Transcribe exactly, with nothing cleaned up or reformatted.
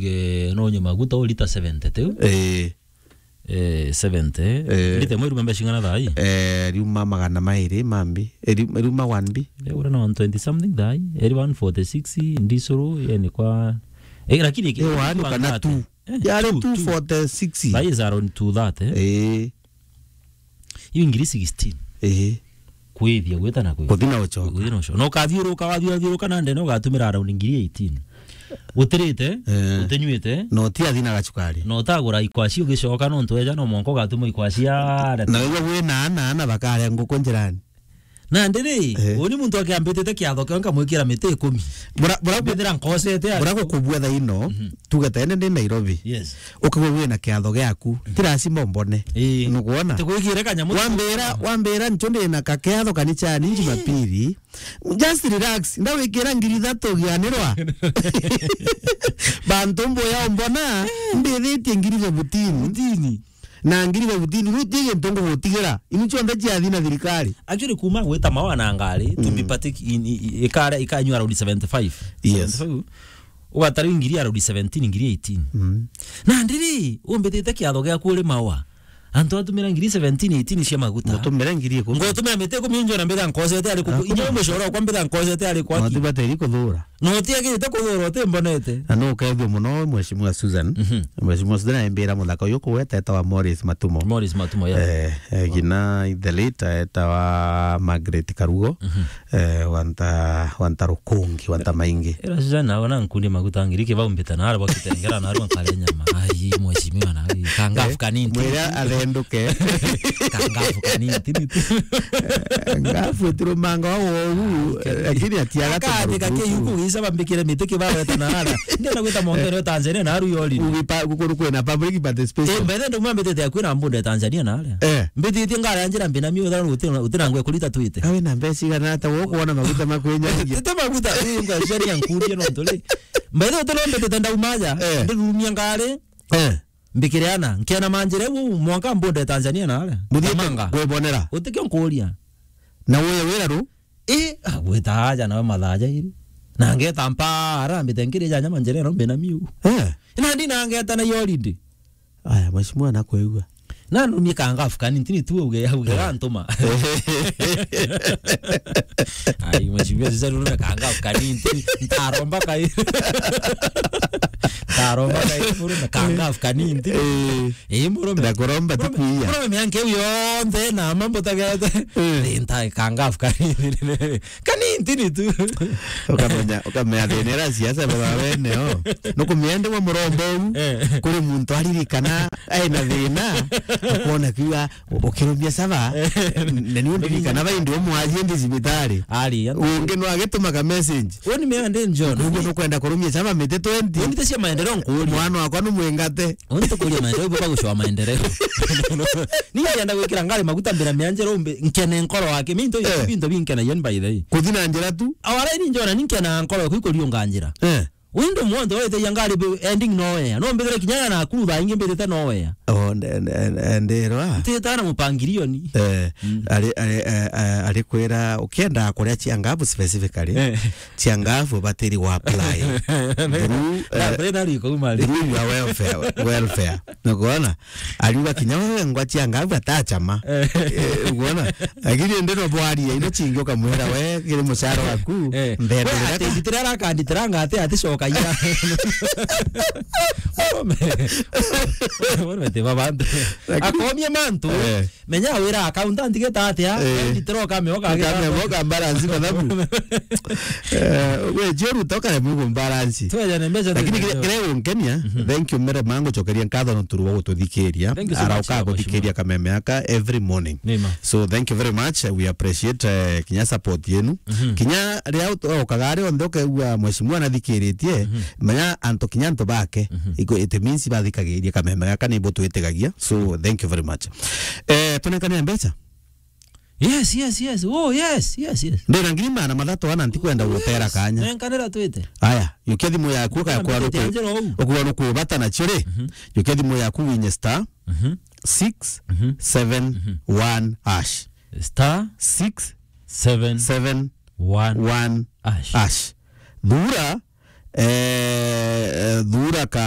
Eh, no nyuma guta o lita seventy tiu. Eh. Eh, seventy. Eh. Lita imwe iruma mbeca cing'ana thaa ii? Eh, riuma magana mairi mambi. Eh, ri-, riuma one B. Eh, ura na one twenty something thaa ii. Eri one forty-six, ndisuru, yani kwa, eh, lakini iki-, Eh, one kana two. Eh, yari two, two. Two forty-six. Thaa ii is around two thirty, eh? Eh. Iu ngiri sixteen. Eh. Kwithia, gwita na kwithia. Kuthi na ucoka. Kuthi na ucoka. Na ukathiuruka, wathiuruka na ndene ugatumira around ngiri eighteen. Utirite, eh, utinyuite. Na utiathi na gacukari. Na utagura ikwaci ugicoka nontu eja no mwanka ugatuma ikwaci areta. Na wigua wina ana, ana bakaria nguku njirani. Nandi ri, eh, uni muntu akiambitite kiatho kio nkamwikira miti ikumi. Bura-, bura-, mbithira nkosete bura gukubua thaa ino, mhm, tuge ta ene ndi Nairobi. Yes. Ukigua wina kiatho giaku, mhm, ti lazima umbone. Ii. Nukwona? Tikwikire kanyamu. Wambira, wambira ncho ndi na kakiatho kanicani Jumapili. Just relax. Ndawikira ngiri ithatu gianirwa. Bantu mbuya umbona, mbithitie ngiri fifteen. Fifteen. Na ngiri fifteen, riu ti gintu ngugutigira. Ini cionthe ciathi na thirikari. Actually, kuma gwita mawa na ngari, to be, mm, partic-, in, i, i, ikare, ikanyua around seventy-five. Yes. Seventy-five. Ugatari ngiri around seventeen, ngiri eighteen. Mm. Na ndiri, umbitite kiatho giaku uri mawa. Antu atumira ngiri seventeen, eighteen cia maguta. Mutumire ngiri ikumi. Ngotumira miti ikumi njo na mbitha nkosete ari ku-, ah, inya mucoro kwa mbitha nkosete ari kwaki. Matibateri kuthura. Na utiagirite kuthura, utimbonete. Na nukethua muno, Mheshimiwa Susan. Mhm. Mheshimiwa Susan aimbira muthaka uyu kugweta etawa Morris Matumo. Morris Matumo, yeah. Eh, eh, wow. Gina the late etawa Margaret Karugo. Mhm. Eh, wanta, wanta rukungi, wanta maingi. Era Susan nawe na nkundi maguta ngiri kibau mbita na arwa kitengera na arwa nkare nyama. Ai, mheshimiwa na ai, kangafu, eh, kanini. Mwira athenduke. Kangafu kanini, tini tu. Eh, ngafu itirumanga wa wogu, eh, lakini atiaga. Akaandika kiuku gisa bambikire miti kibaweta na ara. Ndenda gwita mongere Tanzania na aru yori. Ugipa, gukuru kwina public participation. Eh, mbethe ndo mwambitete akwina mbunde Tanzania na ara. Eh. Mbititie ngara ya njira mbina miu tharu uti-, utinangwe kurita twite. Awe na mbeca igana ata wokuona maguta makwenyagia? Tete maguta, ii, ngwa ciani ya nkurie no nturi. Mbethe utinombetete ndaumaja, eh, ndirumia ngari. Eh. Mbikire ana, nkena manjire u mwanka mbunde Tanzania na ara. Muthiite Kamanga. Kwibonera. Utikio nkuria. Na uye wira ru? Ii, ah, gwita aja nawe mathaa jairi. Na ngeta mpara, mbite nkiri ja nyama njere no mbina miu. Eh. Na ndi na ngeta na holiday. Aya, mheshimiwa nakwigua. Na nurumie kangafu kanini, ntini tu uge, uge, eh, gantuma. Ai, mheshimiwa, sasa nurumie kangafu kanini, ntini, ntaromba kai. Ntaromba kai, nurumie kangafu kanini, ntini. Eh. Eh, murume. Na kuromba ti kuiya. Murume mianke uyo yonthe na mambo tagete. Eh. Eh, nta kangafu kanini. Kanini ntini tu. Ukamenya, ukamenya thina ira siasa baba wene o. Nukumenya ndi wa muromba u. Eh. Kuri muntu aririkana aina thina. Ukona kiuga ukirumia saba. Eh. Na ni undirikana ba indi umwajie ndi cibitari. Ari, ya. Ungi no agitumaga message. Uni mea ndi John. Uguo nukwenda kurumia saba miti twenty. Uni cia maendeleo nkuria. Mwana wakwa numwingate. Uni tukuria maendeleo, ibo bagucwa maendeleo. Ni yenda gwikira ngari maguta mbira mianjero umbe, nkene nkoro wake. Mi into, eh, bintu binkenagia ni by the way. Kuthi na njira tu. Awara ni njona ni nkena nkoro yaku ikuriunga njira. Eh. Windu mwonthe wete ya ngari be-, ending nowhere. No mbithire kinyana na kuru thaa ingi mbithite nowhere. Oh, nde-, nde-, nde-, ndirwa. Ntita na mupangirioni. Eh, mm, ari, ari, eh, eh, ari kwira, ukienda kuria cia ngabu specifically, eh, cia ngabu batiri wa apply. Through, na, eh, na riko umari. Through your welfare, welfare. Nukwona? Ariuga kinya wewe ngwa cia ngabu atachama. Eh. Eh, ukwona? Lakini ndi no bwaria, ino chingi ukamwira we, kiri mucara waku, eh, mbende we ati nditira arakanditira ngate ati coka ira. Murume. Murume ti babantu. Lakini akomie mantu. Eh. Menya wira accountant geta atia, eh, nditira ukame uka. Ukame uka balance mathabu. Eh, we jeru toka le mugo balance. Twejane mbeca. Lakini kire, kire unkenia, mhm, thank you mere mangu chokeria nkatho no turu wa gututhikiria. Thank you so much, arauka guthikiria kameme aka every morning. Nima. So thank you very much. We appreciate, eh, kinya support yenu. Mhm. Kinya ria ukaga ari onthe ukaigua mheshimiwa nathikiritie, mhm, menya antu kinya antu bake. Mhm. Iko, it means bathikagiria kameme gaka ni bo twitigagia. So thank you very much. Eh, tunengane mbeca. Yes, yes, yes. Oh, yes, yes, yes. Ndina ngiri magana mathatu ana ntikwenda gutera kanya. Nenkanira twite. Aya, yukia thimu yaku ukaya kwa ruku. Ukwa ruku bata na chiri. Mhm. Yukia thimu yaku winye star, mhm, six seven one hash. Star six seven one hash. Thura, eh, thura ka